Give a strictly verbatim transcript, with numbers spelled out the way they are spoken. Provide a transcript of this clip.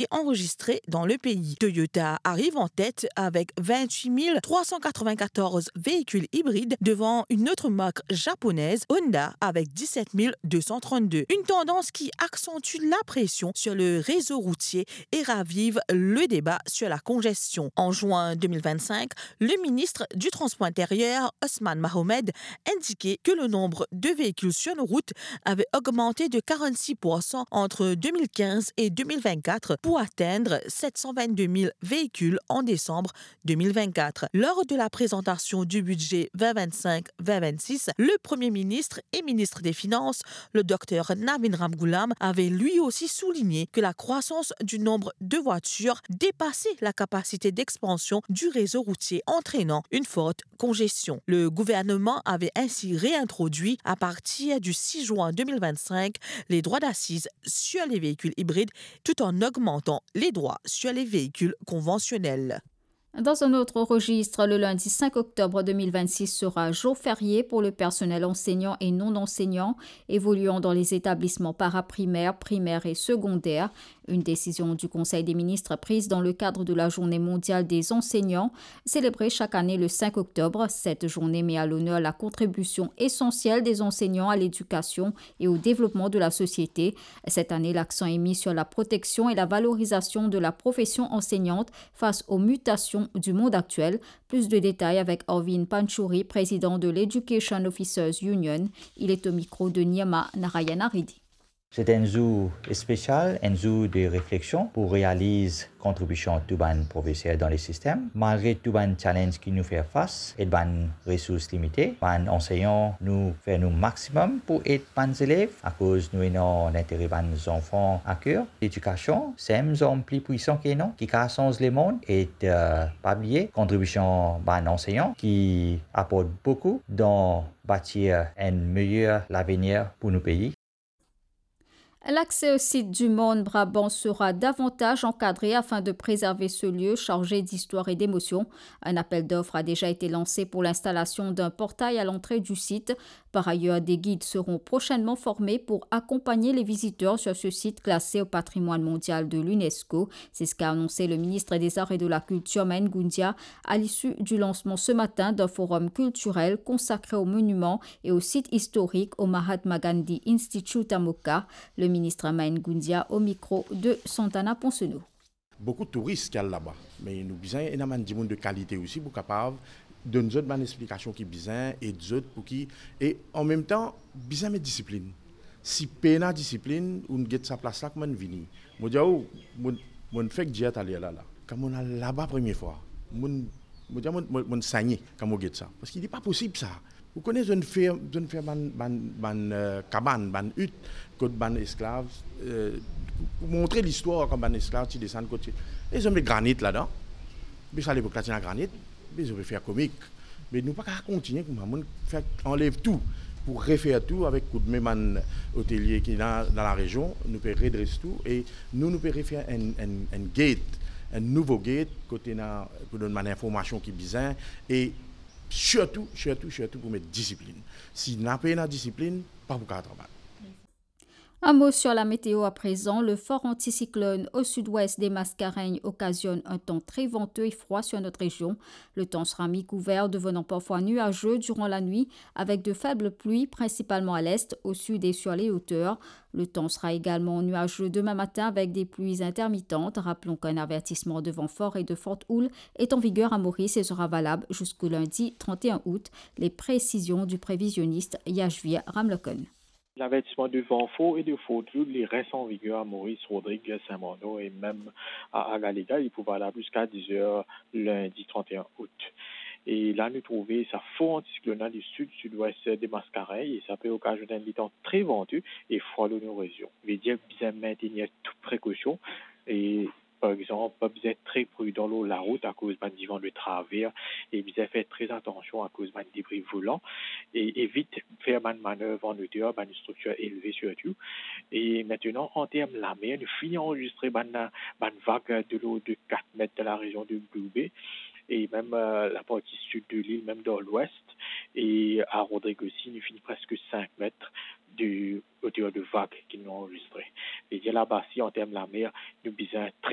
et enregistrés dans le pays. Toyota arrive en tête avec vingt-huit mille trois cent quatre-vingt-quatorze véhicules hybrides devant une autre marque japonaise, Honda, avec dix-sept mille deux cent trente-deux. Une tendance qui accentue la pression sur le réseau routier et ravive le débat sur la congestion. En juin deux mille vingt-cinq, le ministre du Transport intérieur, Osman Mahomed, indiquait que le nombre de véhicules sur nos routes avait augmenté de quarante-six pour cent entre deux mille quinze et deux mille vingt-quatre pour atteindre sept cent vingt-deux mille véhicules en décembre deux mille vingt-quatre. Lors de la présentation du budget vingt vingt-cinq vingt vingt-six, le Premier ministre et ministre des Finances, le docteur Navin Ramgoolam, avait lui aussi souligné que la croissance du nombre de voitures dépassait la capacité d'expansion du réseau routier, entraînant une forte congestion. Le gouvernement avait ainsi réintroduit, à partir du six juin deux mille vingt-cinq, les droits d'assises sur les véhicules hybrides, tout en augmentant les droits sur les véhicules conventionnels. Dans un autre registre, le lundi cinq octobre deux mille vingt-six sera jour férié pour le personnel enseignant et non enseignant évoluant dans les établissements paraprimaires, primaires et secondaires. Une décision du Conseil des ministres prise dans le cadre de la Journée mondiale des enseignants, célébrée chaque année le cinq octobre. Cette journée met à l'honneur la contribution essentielle des enseignants à l'éducation et au développement de la société. Cette année, l'accent est mis sur la protection et la valorisation de la profession enseignante face aux mutations du monde actuel. Plus de détails avec Arvind Panchuri, président de l'Education Officers Union. Il est au micro de Nirma Narayana Reddy. Se enn zour spesial, enn zour de refleksion pou realiz kontribision tou bann profeser dan le sistem. Malgre tou bann challenge ki nou fer fas, e bann resours limite, bann ansegnan, nou fer nou maximum pou ed bann zelev, akoz nou ena lintere bann zanfan a ker. Ledikasion, se enn zarm pli pwisan ki ena, ki kapav sanz lemond, e, eh, pa bliye kontribision bann ansegnan ki aport boukou dan batir enn meyer lavenir pou nou pei. L'accès au site du Morne Brabant sera davantage encadré afin de préserver ce lieu chargé d'histoire et d'émotion. Un appel d'offres a déjà été lancé pour l'installation d'un portail à l'entrée du site. Par ailleurs, des guides seront prochainement formés pour accompagner les visiteurs sur ce site classé au patrimoine mondial de l'UNESCO. C'est ce qu'a annoncé le ministre des Arts et de la Culture, Maïn Goundia, à l'issue du lancement ce matin d'un forum culturel consacré aux monuments et au site historique au Mahatma Gandhi Institute à Moka. Le ministre Maïn Goundia au micro de Santana Ponsonneau. Boukou touris ki al laba, me nou bizin ena bann dimoun de kalite osi pou kapav donn zot bann explikasion ki bizin, ed zot pou ki, e an mem tan, bizin met disiplin. Si pena disiplin, ou'nn get sa plas la, kouma ou'nn vini? Mo dir ou, mo, mo'nn fek dir taler la, la. Kan mo'nn al laba premie fwa, mo'nn, mo dir, mo'nn, mo'nn, mo'nn segne kan mo get sa. Parski li pa posib sa. Ou kone zot inn fer, zot inn fer bann, bann, bann, eh, kabann, bann it, kot bann esklav, eh, pou montre listwar kan bann esklav ti desann kot ti, e zot met granit ladan. Be sa lepok la ti ena granit, be zot pe fer komik. Me nou pa kapav kontigne koumsa, mo'nn fer anlev tou pou refer tou avek koudme bann otelie ki ena dan larezion, nou pe redres tou e nou, nou pe refer enn, enn, enn gate, enn nouvo gate, kot ena, pou donn bann informasion ki bizin e sirtou, sirtou, sirtou pou met disiplin. Si napa ena disiplin, pa pou kapav travay. Un mot sur la météo à présent. Le fort anticyclone au sud-ouest des Mascareignes occasionne un temps très venteux et froid sur notre région. Le temps sera mi-couvert, devenant parfois nuageux durant la nuit, avec de faibles pluies, principalement à l'est, au sud et sur les hauteurs. Le temps sera également nuageux demain matin avec des pluies intermittentes. Rappelons qu'un avertissement de vent fort et de forte houle est en vigueur à Maurice et sera valable jusqu'au lundi trente et un août. Les précisions du prévisionniste Yashvir Ramlokhan. L'avertisman de van for e de fort houle, li res an viger a Moris, Rodrig, Sin Marno e mem a, a Galaga. Li pou valab ziska diz er lindi trant e enn out. E la, nou trouve sa for antisiklonal di sid-sidwes de Maskarenn e sa pe okazionn enn letan tre vante e fwa lor nou rezion. Vedir bizin mintenir tou prekosion e par exanp, bizin tre pridan lor larout akoz bann divan de traver e bizin fer tre atansion akoz bann debri volan e evit fer bann manev an oter, bann striktir elve sirtou. E mintenan, an term lamer, nou fini anrezistre bann, bann vag de lord de kat met dan larezion de Blue Bay e mem, eh, laparti sid de lil, mem dan lwes e a Rodrig osi, nou fini preske sink met. de hauteur de vague ki nou anrezistre. Vedir laba si an term lamer, nou bizin tre